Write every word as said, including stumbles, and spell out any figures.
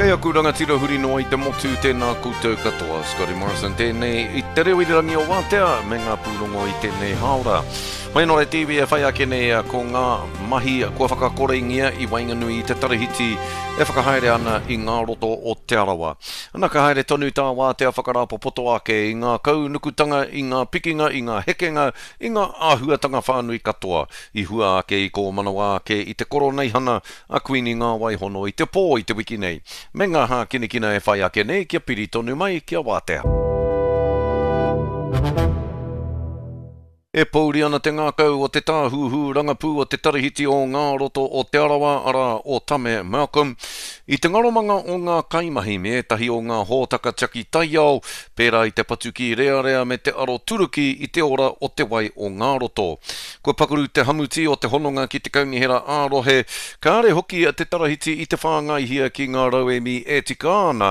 Kei aku rangatira huri noa i te motu, tēnā koutou katoa. Scotty Morrison tēnei i te reo irirangi o Wātea me ngā pūrongo i tēnei hāora. Mai nō re T V e whai ake nei ko ngā mahi kua whakakorengia i waenganui i te tarahiti e whakahaere ana i ngā roto o Te Arawa. Ana ka haere tonu tā Wātea whakarāpopoto ake i ngā kaunukutanga, i ngā pikinga, i ngā hekenga, i ngā āhuatanga whānui katoa i hua ake i kōmanawa ake i te koroneihana a Kuini Ngā Waihono i te pō i te wiki nei. Me ngā hākinakina e whai ake nei kia piri tonu mai kia Wātea. E pouri ana te ngākau o te tāhuhu rangapū o te tarahiti o ngā roto o Te Arawa, arā o Tame Malcolm, i te ngaromanga o ngā kaimahi me ētahi o ngā hōtaka tiaki taiao, pērā i te patuki rearea me te aro turuki i te ora o te wai o ngā roto. Kua pakaru te hamuti o te hononga ki te kaunihera ā-rohe, kāre hoki te tarahiti i te whāngaihia ki ngā rauemi e tika ana